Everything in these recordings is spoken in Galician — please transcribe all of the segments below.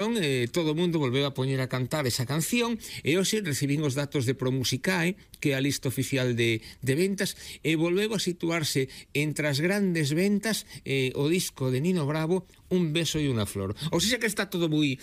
todo o mundo volveu a poñer a cantar esa canción e hoxe recibín os datos de Promusicae, que é a lista oficial de ventas, e volveu a situarse entre as grandes ventas o disco de Nino Bravo, Un beso e unha flor. Ou seja que está todo moi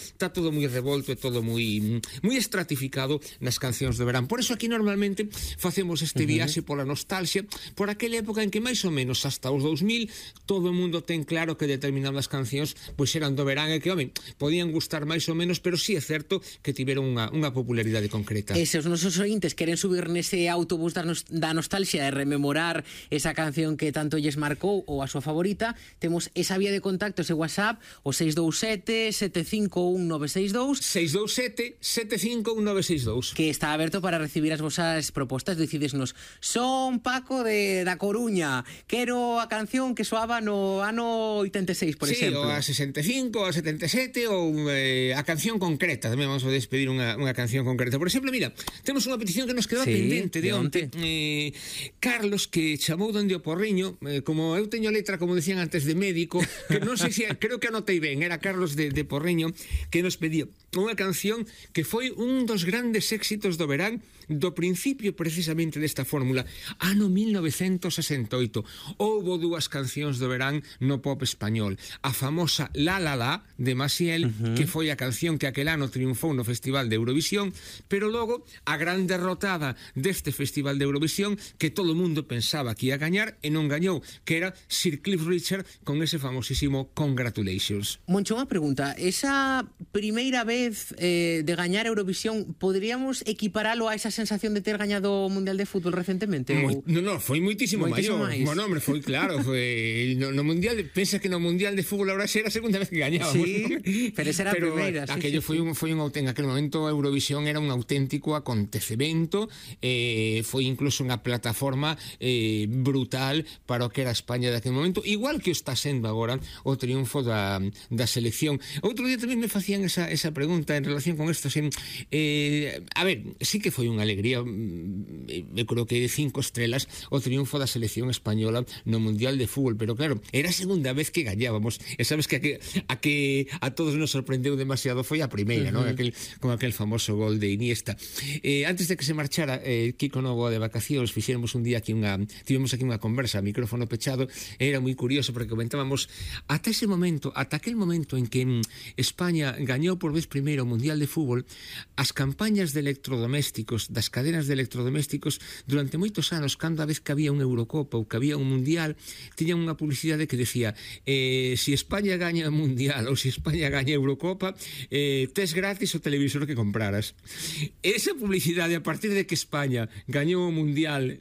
revolto e todo moi estratificado nas cancións de verán. Por eso aquí normalmente facemos este viaxe pola nostalgia, por aquela época en que máis ou menos hasta os 2000 todo o mundo ten claro que determinadas cancións pois eran do verán e que, home, podían gustar máis ou menos, pero sí é certo que tiveron unha popularidade concreta. E se os nosos ointes queren subir nese autobús da nostalgia e rememorar esa canción que tanto lles marcou ou a súa favorita, temos esa vía de contacto, ese WhatsApp, o 627-751-962 627-751-962, que está aberto para recibir as vosas propostas. Decidesnos: son Paco da Coruña, quero a canción que soaba no ano 86, por exemplo. Sí, ou a 65, ou a 77, ou a canción concreta. Tamén vamos a despedir unha canción concreta. Por exemplo, mira, temos unha petición que nos quedou pendente de onte. Carlos, que chamou donde o Porriño, como eu teño letra, como decían antes, de médico, que non sei se creo que anotei ben, era Carlos de Porriño, que nos pedía unha canción que foi un dos grandes éxitos do verán, do principio precisamente desta fórmula, ano 1968. Houbo dúas cancións do verán no pop español: a famosa La La La de Maciel, que foi a canción que aquel ano triunfou no Festival de Eurovisión, pero logo a gran derrotada deste Festival de Eurovisión, que todo o mundo pensaba que ia gañar e non gañou, que era Sir Cliff Richard con ese famosísimo Congratulations. Moncho, unha pregunta: esa primeira vez de gañar Eurovisión, poderíamos equiparalo a esa sensación de ter gañado o Mundial de Fútbol recentemente? Non, foi moitísimo maior. Bueno, hombre, foi claro, foi no Mundial, pensa que no Mundial de Fútbol ahora era a segunda vez que gañábamos. Sí, pero esa era a primeira. Aquello foi un en aquel momento Eurovisión era un auténtico acontecemento, foi incluso unha plataforma brutal para o que era España daquele momento, igual que o está sendo agora o triunfo da selección. Outro día tamén me facían esa pregunta en relación con isto. A ver, sí que foi unha alegría, eu creo que de 5 estrelas o triunfo da selección española no Mundial de Fútbol, pero claro, era a segunda vez que gañábamos, e sabes que a todos nos sorprendeu demasiado foi a primeira, ¿no? Con aquel famoso gol de Iniesta. Antes de que se marchara Kiko Novo de vacacións, tivemos aquí unha conversa a micrófono pechado, era moi curioso porque comentábamos ata aquel momento en que España gañou por vez primeiro o Mundial de Fútbol, as campañas de electrodomésticos, das cadenas de electrodomésticos, durante moitos anos, cada vez que había unha Eurocopa ou que había un Mundial, tiñan unha publicidade que decía: si España gaña o Mundial ou si España gaña a Eurocopa, tes gratis o televisor que compraras. Esa publicidade, a partir de que España gañou o Mundial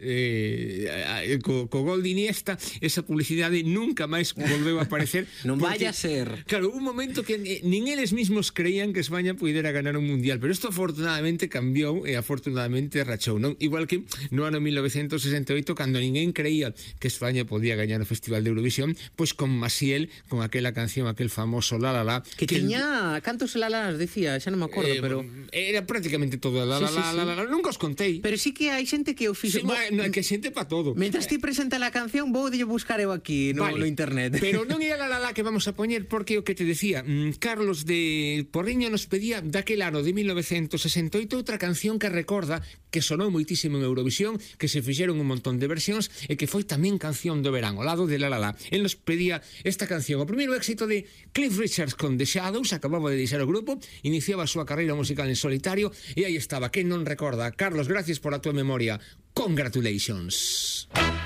co gol de Iniesta, esa publicidade nunca máis volveu a aparecer. Non vaya a ser. Claro, un momento que nin eles mismos creían que España puidera ganar un Mundial, pero isto afortunadamente cambiou e afortunadamente rachou, non? Igual que no ano 1968, cando ninguén creía que España podía gañar o Festival de Eurovisión, pois con Maciel, con aquela canción, aquel famoso La La La, que tiña cantos La La Las, decía, xa non me acordo, pero era prácticamente todo La La La, nunca os contei. Pero sí que hai xente que o fixo. Que xente pa todo. Mentras ti presenta a canción, vou de buscar eu aquí no internet. Pero non é a La La que vamos a poñer, porque o que te decía, Carlos de Porriño nos pedía daquel ano de 1968 outra canción que recorda que sonou moitísimo en Eurovisión, que se fixeron un montón de versións e que foi tamén canción do verán, ao lado de La La La. El nos pedía esta canción, o primeiro éxito de Cliff Richard con The Shadows, acababa de deixar o grupo, iniciaba a súa carreira musical en solitario, e aí estaba, quen non recorda? Carlos, gracias por a túa memoria. Congratulations.